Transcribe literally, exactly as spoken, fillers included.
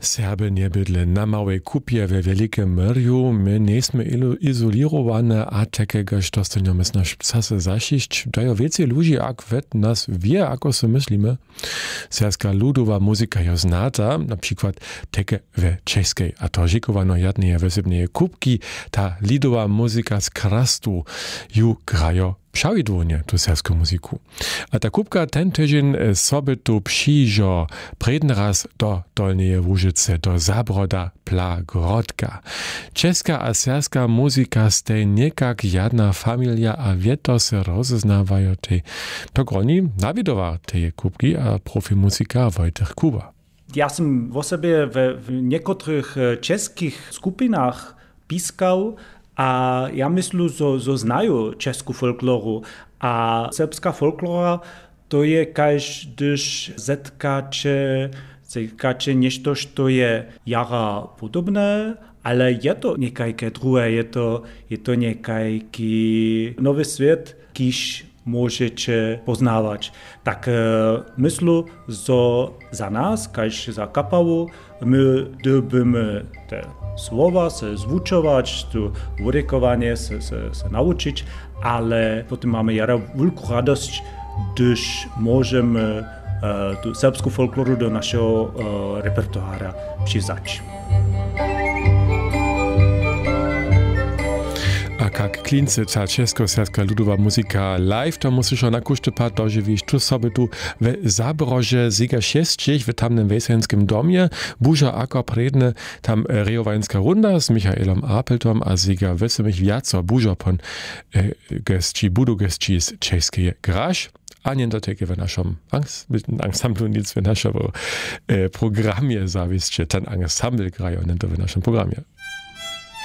Serby njebydle na małej kupje we wjelikem myrju. My njejsmy izolěrowane a tajkegož dostanjamy snaž psase zašišć dajo wěcej ludźi ak wet nas wě ako so myslimy. Serbska ludowa muzika jo znata na přikład tajke we češkej a to žikowano jadneje wysebneje kupki. Ta lidowa muzika z krastu ju grajo přawidłownje tu serbsku muziku. A ta kupka ten tydźeń sobytu přižo prědny raz do dolneje łužicy do zabroda pla grodka. Česka a serbska muzika stej někak jadna familia a wěto se rozeznawajotej. To groni nawidowar teje kubki a profimuzika wojtych kuba. Ja sym wosebje we w někotrych e, českich skupinach piskał a ja myslu zo, zo znaju česku folkloru a serbska folklora to je kaž hdyž zetkaće zetkaće něšto što je jara podobne, ale je to někajke druhe je to je to někajki nowy swět kiž móžeće poznawać. Tak e, myslu zo za nas kaž za kapawu my dyrbymy te słowa se zwučować tu wudekowanje se, se, se nawučić, ale potom mamy jara wulku radosć hdyž móžemy e, tu serbsku folkloru do našeho e, repertoara přiwzać. A kak klincy ta českoserbska ludowa muzika live to musy šo na kóždy pad dožiwić tu soby tu we zabrože zega šesćich w tamnym wejsenskim domje buža ako prědny tam rejowańska runda z michaelom apeltom a zega wysymich wjaco bužo pon gesći budu gesći z češskeje graž. A njen dotajke w našom ansamblu nic w našemu programje zawisće ten ansambl grajo njen to w našem programje.